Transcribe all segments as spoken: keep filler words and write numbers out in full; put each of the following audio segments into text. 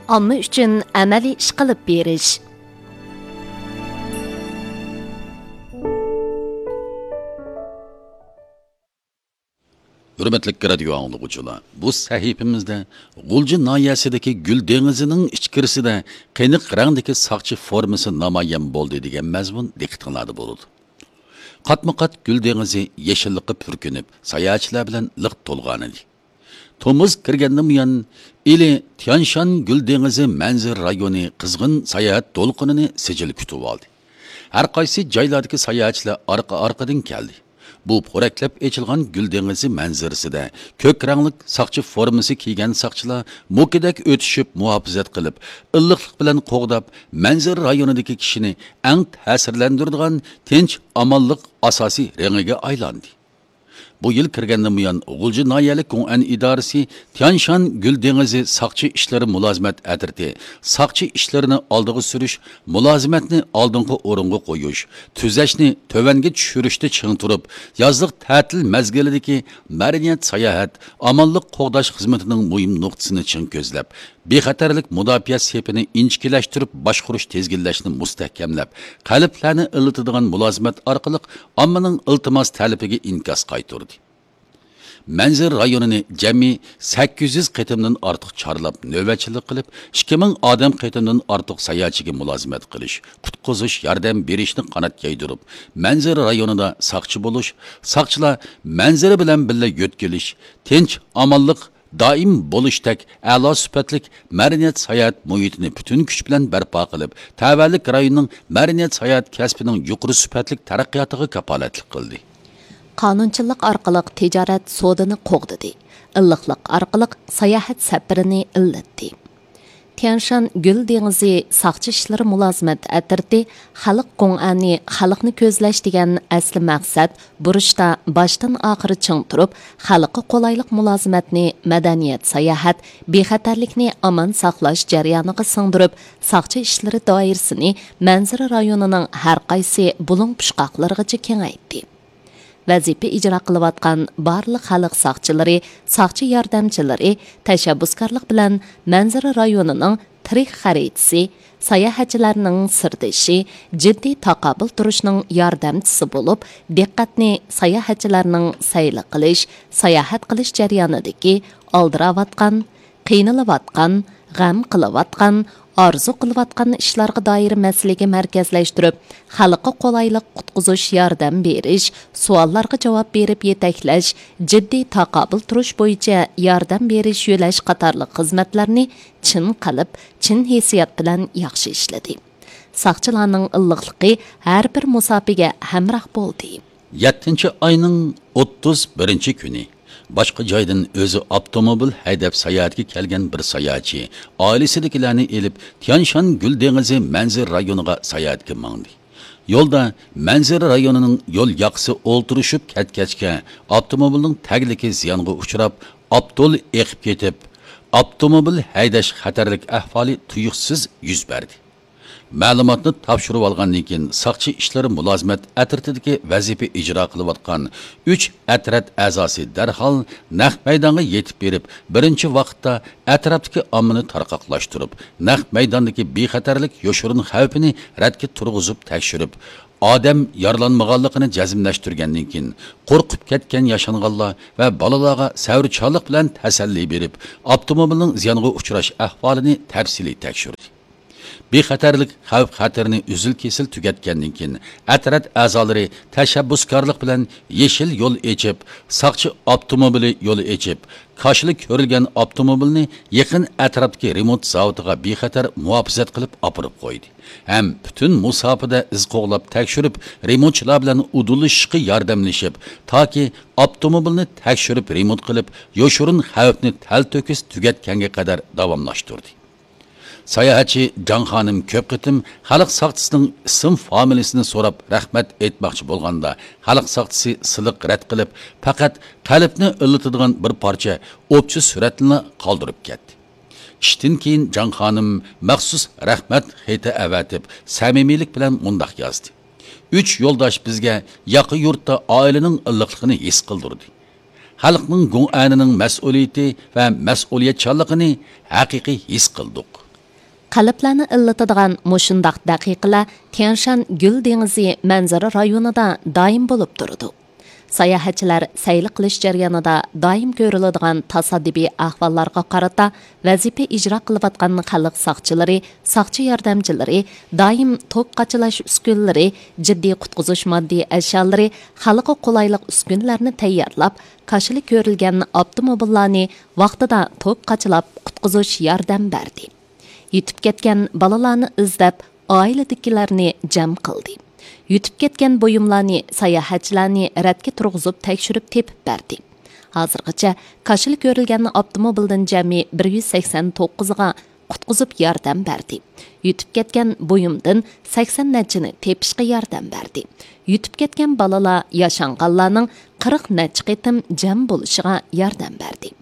ئامما ئۈچۈن ئەمەلىي ئىش قىلىپ بېرىش. ھۆرمەتلىك رادىيو ئاڭلىغۇچىلار، بۇ سەھىپىمىزدە غۇلجا ناھىيەسىدىكى گۈل دېڭىزىنىڭ ئىچكىرىسىدە قېنىق رەڭدىكى ساقچى فورمىسى نامايان بولدى دېگەن مەزمۇن دىققىتىڭلاردا بولىدۇ. قاتمۇ قات گۈل دېڭىزى يېشىللىققا پۈركىنىپ، ساياھەتچىلەر بىلەن لىق تولغانىدى. تومۇز كىرگەندىن بۇيان، ئىلى تيانشان گۈل دېڭىزى مەنزىرە رايونى قىزغىن ساياھەت دولقۇنىنى سىجىل كۈتۈۋالدى. ھەر قايسى جايلاردىكى ساياھەتچىلەر ئارقا-ئارقىدىن كەلدى. بۇ پورەكلەپ ئېچىلغان گۈل دېڭىزى مەنزىرىسىدە كۆك رەڭلىك ساقچى فورمىسى كىيگەن ساقچىلار مۇكىدەك ئۆتۈشۈپ مۇھاپىزەت قىلىپ، ئىللىقلىق بىلەن قوغداپ، مەنزىرە رايونىدىكى كىشىنى ئەڭ تەسىرلەندۈرىدىغان تىنچ، ئامانلىق ئاساسىي رېڭىگە ئايلاندى. بۇ يىل كىرگەندىن بۇيان، غۇلجا ناھىيەلىك گوڭئەن ئىدارىسى تيانشان گۈل دېڭىزى ساقچى ئىشلىرى مۇلازىمەت ئەترىتى ساقچى ئىشلىرىنى ئالدىغا سۈرۈش، مۇلازىمەتنى ئالدىنقى ئورۇنغا قويۇش، تۈزەشنى تۆۋەنگە چۈشۈرۈشتە چىڭ تۇرۇپ، يازلىق تەتىل مەزگىلىدىكى مەدەنىيەت ساياھەت، ئامانلىق قوغداش خىزمىتىنىڭ مۇھىم نۇقتىسىنى چىڭ كۆزلەپ، بىخەتەرلىك مۇداپىئە سېپىنى ئىنچىكىلەشتۈرۈپ باشقۇرۇش تىزگىنلەشنى مۇستەھكەملەپ، قەلبلەرنى ئىللىتىدىغان مۇلازىمەت ئارقىلىق ئاممىنىڭ ئىلتىماس تەلىپىگە ئىنكاس قايتۇردى. مەنزىرە رايونىنى جەمئىي سەككىز يۈز قېتىمدىن ئارتۇق چارلاپ نۆۋەتچىلىك قىلىپ، ئىككى مىڭ ئادەم قېتىمدىن ئارتۇق ساياھەتچىگە مۇلازىمەت قىلىش، قۇتقۇزۇش، ياردەم بېرىشنى قانات يايدۇرۇپ، مەنزىرە رايونىدا ساقچى بولۇش، ساقچىلار مەنزىرە بىلەن بىللە يۆتكىلىش، تىنچ، ئامانلىق، دائىم بولۇشتەك ئەلا سۈپەتلىك مەدەنىيەت ساياھەت مۇھىتىنى پۈتۈن كۈچ بىلەن بەرپا قىلىپ، تەۋەلىك رايوننىڭ مەدەنىيەت ساياھەت كەسپىنىڭ يۇقىرى سۈپەتلىك تەرەققىياتىغا كاپالەتلىك قىلدى. قانۇنچىللىق ئارقىلىق تىجارەت سودىنى قوغدىدى، ئىللىقلىق ئارقىلىق ساياھەت سەپىرىنى ئىللىتتى. تيەنشان گۈل دېڭىزى ساقچى ئىشلىرى مۇلازىمەت ئەترىتى خەلق گوڭئەنى خەلقنى كۆزلەش دېگەن ئەسلى مەقسەت بۇرۇچتا باشتىن ئاخىر چىڭ تۇرۇپ، خەلققە قولايلىق مۇلازىمەتنى مەدەنىيەت ساياھەت، بىخەتەرلىكنى ئامان ساقلاش جەريانىغا سىڭدۈرۈپ، ساقچى ئىشلىرى دائىرىسىنى مەنزىرە رايونىنىڭ ھەر قايسى بۇلۇڭ پۇچقاقلىرىغىچە كېڭەيتتى. ۋەزىپە ئىجرا قىلىۋاتقان بارلىق خەلق ساقچىلىرى، ساقچى ياردەمچىلىرى تەشەببۇسكارلىق بىلەن مەنزىرە رايونىنىڭ تىرىك خەرىتىسى، ساياھەتچىلەرنىڭ سىردىشى، جىددىي تاقابىل تۇرۇشنىڭ ياردەمچىسى بولۇپ، دىققەتنى ساياھەتچىلەرنىڭ سەيلە قىلىش، ساياھەت قىلىش جەريانىدىكى ئالدىراۋاتقان، قىينىلىۋاتقان، غەم قىلىۋاتقان، ئارزۇ قىلىۋاتقان ئىشلارغا دائىر مەسىلىگە مەركەزلەشتۈرۈپ، خەلققە قولايلىق قۇتقۇزۇش ياردەم بېرىش، سوئاللارغا جاۋاب بېرىپ يېتەكلەش، جىددىي تاقابىل تۇرۇش بويىچە ياردەم بېرىش يۆلەش قاتارلىق خىزمەتلەرنى چىن قەلب، چىن ھېسسىيات بىلەن ياخشى ئىشلىدى. ساقچىلارنىڭ ئىللىقلىقى ھەر بىر مۇساپىگە ھەمراھ بولدى. يەتتىنچى ئاينىڭ ئوتتۇز بىرىنچى كۈنى باشقا جايدىن ئۆزى ئاپتوموبىل ھەيدەپ ساياھەتكە كەلگەن بىر ساياھەتچى ئائىلىسىدىكىلەرنى ئېلىپ، تيانشان گۈل دېڭىزى مەنزىرە رايونىغا ساياھەتكە ماڭدى. يولدا مەنزىرە رايونىنىڭ يول ياقىسى ئولتۇرۇشۇپ كەتكەچكە، ئاپتوموبىلنىڭ تەگلىكى زىيانغا ئۇچراپ، ئاپتول ئېقىپ كېتىپ، ئاپتوموبىل ھەيدەش خەتەرلىك ئەھۋالى تۇيۇقسىز يۈز بەردى. مەلۇماتنى تاپشۇرۇۋالغاندىن كېيىن، ساقچى ئىشلىرى مۇلازىمەت ئەترىتىدىكى ۋەزىپە ئىجرا قىلىۋاتقان ئۈچ ئەترەت ئەزاسى دەرھال نەق مەيدانغا يېتىپ بېرىپ، بىرىنچى ۋاقىتتا ئەتراپتىكى ئاممىنى تارقاقلاشتۇرۇپ، نەق مەيداندىكى بىخەتەرلىك يوشۇرۇن خەۋپىنى رەتكە تۇرغۇزۇپ تەكشۈرۈپ، ئادەم يارىلانمىغانلىقىنى جەزملەشتۈرگەندىن كېيىن، قورقۇپ كەتكەن ياشانغانلار ۋە بالىلارغا سەۋرچانلىق بىلەن تەسەللى بېرىپ، ئاپتوموبىلنىڭ زىيانغا ئۇچراش ئەھۋالىنى تەپسىلىي تەكشۈردى. بىخەتەرلىك خەۋپ-خەتىرىنى ئۈزۈل-كېسىل تۈگەتكەندىن كېيىن، ئەترەت ئەزالىرى تەشەببۇسكارلىق بىلەن يېشىل يول ئېچىپ، ساقچى ئاپتوموبىلى يولى ئېچىپ، كاشىلا كۆرۈلگەن ئاپتوموبىلنى يېقىن ئەتراپتىكى رېمونت زاۋۇتىغا بىخەتەر مۇھاپىزەت قىلىپ ئاپىرىپ قويدى ھەم پۈتۈن مۇساپىدە ئىز قوغلاپ تەكشۈرۈپ، رېمونتچىلار بىلەن ئۇدۇللىشىشقا ياردەملىشىپ، تاكى ئاپتوموبىلنى تەكشۈرۈپ رېمونت قىلىپ، يوشۇرۇن خەۋپنى تەلتۆكۈس تۈگەتكەنگە قەدەر داۋاملاشتۇردى. ساياھەتچى جاڭ خانىم كۆپ قېتىم خەلق ساقچىسىنىڭ ئىسىم فامىلىسىنى سوراپ رەھمەت ئېيتماقچى بولغاندا، خەلق ساقچىسى سىلىق رەت قىلىپ، پەقەت قەلبنى ئىللىتىدىغان بىر پارچە ئوپچە سۈرەتنىلا قالدۇرۇپ كەتتى. ئىشتىن كېيىن جاڭ خانىم مەخسۇس رەھمەت خېتى ئەۋەتىپ، سەمىمىيلىك بىلەن مۇنداق يازدى: «ئۈچ يولداش بىزگە ياقا يۇرتتا ئائىلىنىڭ ئىللىقلىقىنى ھېس قىلدۇردى. خەلقنىڭ گۇڭئەنىنىڭ مەسئۇلىيىتى ۋە مەسئۇلىيەتچانلىقىنى ھەقىقىي ھېس قىلدۇق.» قەلبلەرنى ئىللىتىدىغان مۇشۇنداق دەقىقىلەر تيەنشان گۈل دېڭىزى مەنزىرە رايونىدا دائىم بولۇپ تۇرىدۇ. ساياھەتچىلەر سەيلە قىلىش جەريانىدا دائىم كۆرۈلىدىغان تاسادىپىي ئەھۋاللارغا قارىتا ۋەزىپە ئىجرا قىلىۋاتقان خەلق ساقچىلىرى، ساقچى ياردەمچىلىرى دائىم توپ قاچىلاش ئۈسكۈنىلىرى، جىددىي قۇتقۇزۇش ماددىي ئەشيالىرى، خەلققە قولايلىق ئۈسكۈنىلەرنى تەييارلاپ، كاشىلا كۆرۈلگەن ئاپتوموبىللارنى ۋاقتىدا توپ قاچىلاپ قۇتقۇزۇش ياردەم بەردى. يىتىپ كەتكەن بالىلارنى ئىزدەپ، ئائىلىدىكىلەرنى جەم قىلدى. يىتىپ كەتكەن بۇيۇملارنى، ساياھەتچىلەرنى رەتكە تۇرغۇزۇپ تەكشۈرۈپ تېپىپ بەردى. ھازىرغىچە كاشىلا كۆرۈلگەن ئاپتوموبىلدىن جەمئىي بىر يۈز سەكسەن توققۇزىغا قۇتقۇزۇپ ياردەم بەردى. يىتىپ كەتكەن بۇيۇمدىن سەكسەن نەچچىنى تېپىشقا ياردەم بەردى. يىتىپ كەتكەن بالىلار ياشانغانلارنىڭ قىرىق نەچچە قېتىم جەم بولۇشىغا ياردەم بەردى.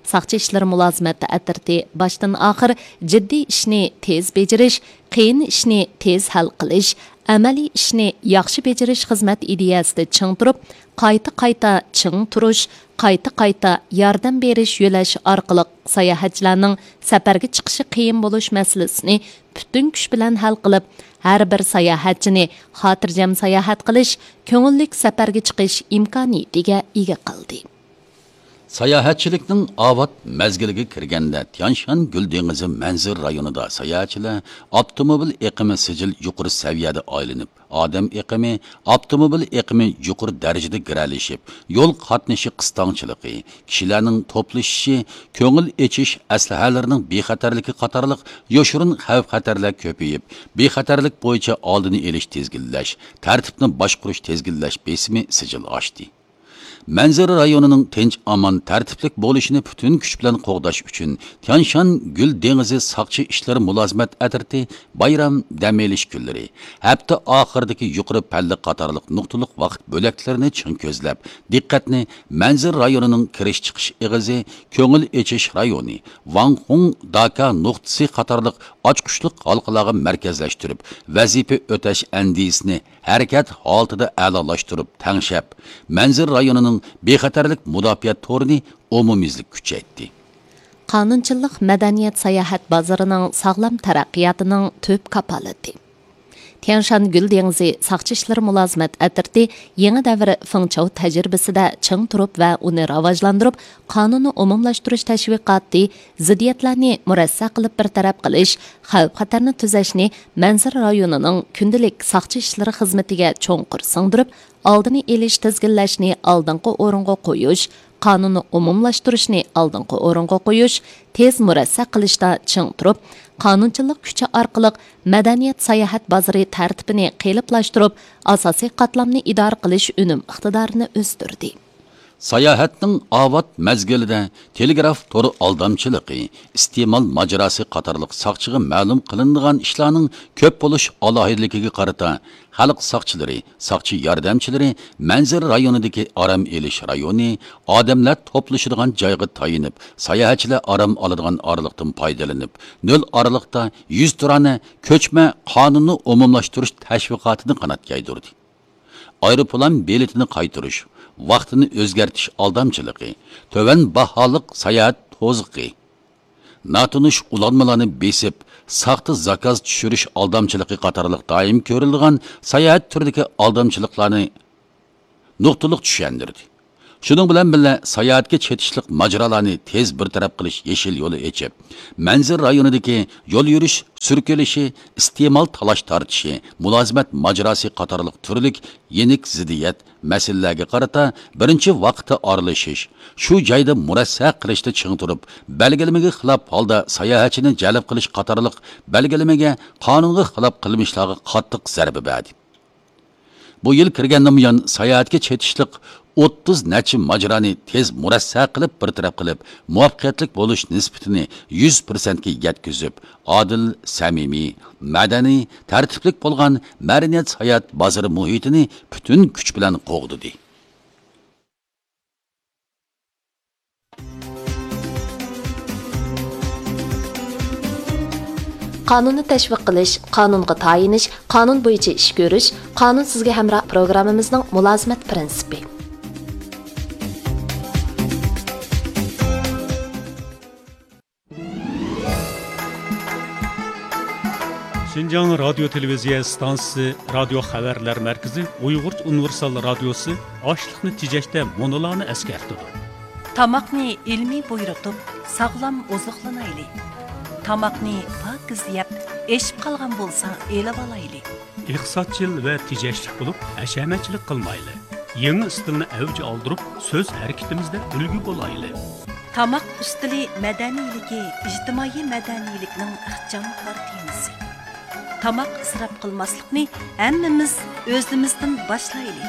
ساقچى ئىشلىرى مۇلازىمەت ئەترىتى باشتىن ئاخىر جىددىي ئىشنى تېز بېجىرىش، قىيىن ئىشنى تېز ھەل قىلىش، ئەمەلىي ئىشنى ياخشى بېجىرىش خىزمەت ئىدىيەسىدە چىڭ تۇرۇپ، قايتا-قايتا چىڭ تۇرۇش، قايتا-قايتا ياردەم بېرىش يۆلەش ئارقىلىق ساياھەتچىلەرنىڭ سەپەرگە چىقىشى قىيىن بولۇش مەسىلىسىنى پۈتۈن كۈچ بىلەن ھەل قىلىپ، ھەر بىر ساياھەتچىنى خاتىرجەم ساياھەت قىلىش، كۆڭۈللۈك سەپەرگە چىقىش ئىمكانىيىتىگە ئىگە قىلدى. ساياھەتچىلىكنىڭ ئاۋات مەزگىلىگە كىرگەندە، تيانشان گۈل دېڭىزى مەنزىرە رايونىدا ساياھەتچىلەر ئاپتوموبىل ئېقىمى سىجىل يۇقىرى سەۋىيەدە ئايلىنىپ، ئادەم ئېقىمى، ئاپتوموبىل ئېقىمى يۇقىرى دەرىجىدە گىرەلىشىپ، يول قاتنىشى قىستاڭچىلىقى، كىشىلەرنىڭ توپلىشىشى، كۆڭۈل ئېچىش ئەسلىھەلىرىنىڭ بىخەتەرلىكى قاتارلىق يوشۇرۇن خەۋپ-خەتەرلەر كۆپىيىپ، بىخەتەرلىك بويىچە ئالدىنى ئېلىش، تىزگىنلەش، تەرتىپنى باشقۇرۇش، تىزگىنلەش بېسىمى سىجىل ئاشتى. مەنزىرە رايونىنىڭ تىنچ-ئامان، تەرتىپلىك بولۇشىنى پۈتۈن كۈچ بىلەن قوغداش ئۈچۈن، تيانشان گۈل دېڭىزى ساقچى ئىشلىرى مۇلازىمەت ئەترىتى بايرام، دەم ئېلىش كۈنلىرى، ھەپتە ئاخىرىدىكى يۇقىرى پەللە قاتارلىق نۇقتىلىق ۋاقىت بۆلەكلىرىنى چىڭ كۆزلەپ، دىققەتنى مەنزىرە رايونىنىڭ كىرىش-چىقىش ئېغىزى، كۆڭۈل ئېچىش رايونى، ۋاڭخۇڭ، داكا نۇقتىسى قاتارلىق ئاچقۇچلۇق ھالقىلارغا مەركەزلەشتۈرۈپ، ۋەزىپە ئۆتەش ئەندىزىسىنى ھەرىكەت ھالىتىدە ئەلالاشتۇرۇپ تەڭشەپ، مەنزىرە رايونىنىڭ بىخەتەرلىك مۇداپىئە تورىنى ئومۇميۈزلۈك كۈچەيتتى. قانۇنچىلىق مەدەنىيەت ساياھەت بازىرىنىڭ ساغلام تەرەققىياتىنىڭ تۈپ كاپالىتى. تيەنشان گۈل دېڭىزى ساقچى ئىشلىرى مۇلازىمەت ئەترىتى يېڭى دەۋر فېڭچاۋ تەجرىبىسىدە چىڭ تۇرۇپ ۋە ئۇنى راۋاجلاندۇرۇپ، قانۇننى ئومۇملاشتۇرۇش تەشۋىقاتى، زىددىيەتلەرنى مۇرەسسە قىلىپ بىر تەرەپ قىلىش، خەۋپ-خەتەرنى تۈزەشنى مەنزىرە رايونىنىڭ كۈندىلىك ساقچى ئىشلىرى خىزمىتىگە چوڭقۇر سىڭدۈرۈپ، ئالدىنى ئېلىش، تىزگىنلەشنى ئالدىنقى ئورۇنغا قويۇش، قانۇننى ئومۇملاشتۇرۇشنى ئالدىنقى ئورۇنغا قويۇش، تېز مۇرەسسە قىلىشتا چىڭ تۇرۇپ، قانۇنچىلىق كۈچى ئارقىلىق مەدەنىيەت ساياھەت بازىرى تەرتىپىنى قېلىپلاشتۇرۇپ، ئاساسىي قاتلامنى ئىدارە قىلىش ئۈنۈم ئىقتىدارىنى ئۆستۈردى. ساياھەتنىڭ ئاۋات مەزگىلىدە تېلېگراف تور ئالدامچىلىقى، ئىستېمال ماجىراسى قاتارلىق ساقچىغا مەلۇم قىلىنىدىغان ئىشلارنىڭ كۆپ بولۇش ئالاھىدىلىكىگە قارىتا، خەلق ساقچىلىرى، ساقچى ياردەمچىلىرى مەنزىرە رايونىدىكى ئارام ئېلىش رايونى، ئادەملەر توپلىشىدىغان جايغا تايىنىپ، ساياھەتچىلەر ئارام ئالىدىغان ئارىلىقتىن پايدىلىنىپ، نۆل ئارىلىقتا يۈز تۇرانە كۆچمە قانۇننى ئومۇملاشتۇرۇش تەشۋىقاتىنى قانات يايدۇردى. ئايروپىلان بېلىتىنى قايتۇرۇش، ۋاقتىنى ئۆزگەرتىش ئالدامچىلىقى، تۆۋەن باھالىق ساياھەت توزۇقى، ناتونۇش ئۇلانمىلارنى بېسىپ، ساختا زاكاز چۈشۈرۈش ئالدامچىلىقى قاتارلىق دائىم كۆرۈلىدىغان ساياھەت تۈرىدىكى ئالدامچىلىقلارنى نۇقتىلىق چۈشەندۈردى. شۇنىڭ بىلەن بىللە، ساياھەتكە چېتىشلىق ماجىرالارنى تېز بىر تەرەپ قىلىش يېشىل يولى ئېچىپ، مەنزىرە رايونىدىكى يول يۈرۈش سۈركىلىشى، ئىستېمال تالاش تارتىشى، مۇلازىمەت ماجىراسى قاتارلىق تۈرلۈك يېنىك زىددىيەت مەسىلىلەرگە قارىتا بىرىنچى ۋاقىتتا ئارىلىشىش، شۇ جايدا مۇرەسسە قىلىشتا چىڭ تۇرۇپ، بەلگىلىمىگە خىلاپ ھالدا ساياھەتچىنى جەلپ قىلىش قاتارلىق بەلگىلىمىگە، قانۇنغا خىلاپ قىلمىشلارغا قاتتىق زەربە بەردى. بۇ يىل كىرگەندىن بۇيان، ساياھەتكە چېتىشلىق ئوتتۇز نەچچە ماجىرانى تېز مۇرەسسە قىلىپ، بىر تەرەپ قىلىپ، مۇۋەپپەقىيەتلىك بولۇش نىسبىتىنى يۈز پىرسەنتكە يەتكۈزۈپ، ئادىل، سەمىمىي، مەدەنىي، تەرتىپلىك بولغان مەدەنىيەت ساياھەت بازىرى مۇھىتىنى پۈتۈن كۈچ بىلەن قوغدىدى. قانۇننى تەشۋىق قىلىش، قانۇنغا تايىنىش، قانۇن بويىچە ئىش كۆرۈش، قانۇن سىزگە ھەمراھ پروگراممىمىزنىڭ مۇلازىمەت پىرىنسىپى. شىنجاڭ رادىيو تېلېۋىزىيە ئىستانسىسى رادىيو خەۋەرلەر مەركىزى ئۇيغۇرچە ئۇنىۋېرسال رادىيوسى ئاشلىقنى تېجەشتە مۇنۇلارنى ئەسكەرتىدۇ. تاماقنى ئىلمىي بۇيرۇتۇپ، ساغلام ئوزۇقلىنايلى. تاماقنى پاكىز يەپ، ئېشىپ قالغان بولسا ئېلىۋالايلى. ئىقتىسادچىل ۋە تېجەشلىك بولۇپ، ھەشەمەتچىلىك قىلمايلى. يېڭى ئىستىلنى ئەۋج ئالدۇرۇپ، سۆز ھەرىكىتىمىزدە ئۈلگە بولايلى. تاماق ئۈستىلى مەدەنىيلىكى ئىجتىمائىي مەدەنىيلىكنىڭ ئىخچام كارتىنىسى. تاماق ئىسراپ قىلماسلىقنى ھەممىمىز ئۆزىمىزدىن باشلايلى.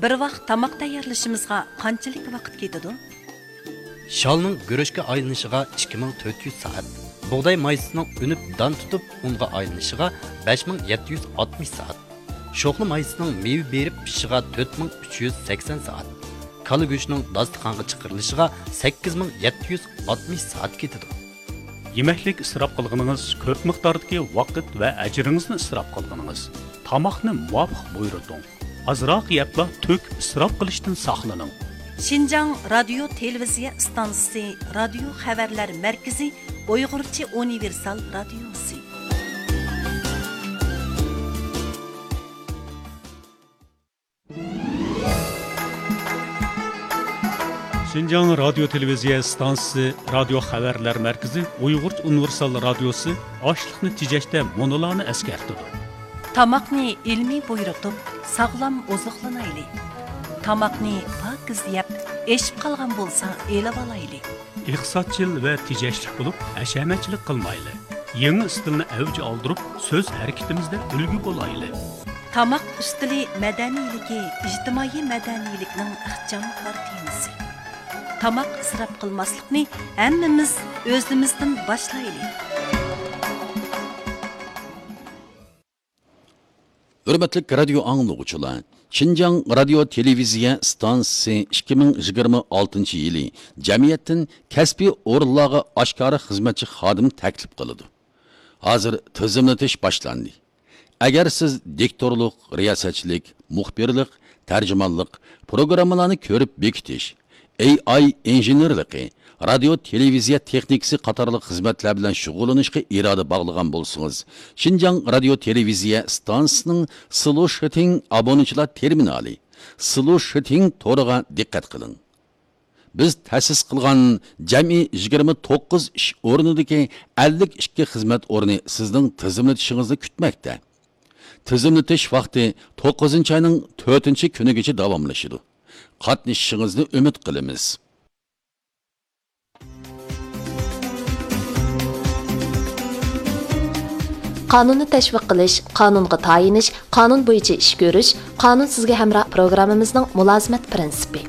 بىر ۋاق تاماق تەييارلىشىمىزغا قانچىلىك ۋاقىت كېتىدۇ؟ شالنىڭ گۈرۈچكە ئايلىنىشىغا ئىككى مىڭ تۆت يۈز سائەت، بۇغداي مايسىسىنىڭ ئۈنۈپ دان تۇتۇپ ئۇنغا ئايلىنىشىغا بەش مىڭ يەتتە يۈز ئاتمىش سائەت، شوخلا مايسىسىنىڭ مېۋە بېرىپ پىشىشىغا تۆت مىڭ ئۈچ يۈز سەكسەن سائەت، كالا گۆشىنىڭ داستىخانغا چىقىرىلىشىغا سەككىز مىڭ يەتتە يۈز ئاتمىش سائەت كېتىدۇ. يېمەكلىك ئىسراپ قىلغىنىڭىز كۆپ مىقداردىكى ۋاقىت ۋە ئەجرىڭىزنى ئىسراپ قىلغىنىڭىز. تاماقنى مۇۋاپىق بۇيرۇتۇڭ. ئازراق يەپلا تۆك ئىسراپ قىلىشتىن ساقلىنىڭ. شىنجاڭ رادىيو تېلېۋىزىيە ئىستانسىسى رادىيو خەۋەرلەر مەركىزى ئۇيغۇرچە ئۇنىۋېرسال رادىيوسى. شىنجاڭ رادىيو تېلېۋىزىيە ئىستانسىسى رادىيو خەۋەرلەر مەركىزى ئۇيغۇرچە ئۇنىۋېرسال رادىيوسى ئاشلىقنى تېجەشتە مۇنۇلارنى ئەسكەرتىدۇ. تاماقنى ئىلمىي بۇيرۇتۇپ، ساغلام ئوزۇقلىنايلى. تاماقنى پاكىز يەپ، ئېشىپ قالغان بولسا ئېلىۋالايلى. ئىقتىسادچىل ۋە تېجەشلىك بولۇپ، ھەشەمەتچىلىك قىلمايلى. يېڭى ئىستىلنى ئەۋج ئالدۇرۇپ، سۆز ھەرىكىتىمىزدە ئۈلگە بولايلى. تاماق ئۈستىلى مەدەنىيلىكى ئىجتىمائىي مەدەنىيلىكنىڭ ئىخچام كارتىنىسى. تاماق ئىسراپ قىلماسلىقنى ھەممىمىز ئۆزىمىزدىن باشلايلى. ھۆرمەتلىك رادىيو ئاڭلىغۇچىلار، شىنجاڭ رادىيو تېلېۋىزىيە ئىستانسىسى ئىككى مىڭ يىگىرمە ئالتىنچى يىلى جەمئىيەتتىن كەسپىي ئورۇنلارغا ئاشكارا خىزمەتچى خادىم تەكلىپ قىلىدۇ. ھازىر تىزىملىتىش باشلاندى. ئەگەر سىز دىكتورلۇق، رىياسەتچىلىك، مۇخبىرلىق، تەرجىمانلىق، پروگراممىلارنى كۆرۈپ بېكىتىش، ئېي ئاي ئىنژېنېرلىقى، رادىيو تېلېۋىزىيە تېخنىكىسى قاتارلىق خىزمەتلەر بىلەن شۇغۇللىنىشقا ئىرادە باغلىغان بولسىڭىز، شىنجاڭ رادىيو تېلېۋىزىيە ئىستانسىسىنىڭ سلۇشىتىڭ ئابۇنىچىلار تېرمىنالى، سلۇشىتىڭ تورىغا دىققەت قىلىڭ. بىز تەسىس قىلغان جەمئىي يىگىرمە توققۇز ئىش ئورنىدىكى ئەللىك ئىككى خىزمەت ئورنى سىزنىڭ تىزىملىتىشىڭىزنى كۈتمەكتە. تىزىملىتىش ۋاقتى توققۇزىنچى ئاينىڭ تۆتىنچى كۈنىگىچە داۋاملىشىدۇ. قاتنىشىشىڭىزنى ئۈمىد قىلىمىز. قانۇننى تەشۋىق قىلىش، قانۇنغا تايىنىش، قانۇن بويىچە ئىش كۆرۈش، قانۇن سىزگە ھەمراھ پروگراممىمىزنىڭ مۇلازىمەت پىرىنسىپى.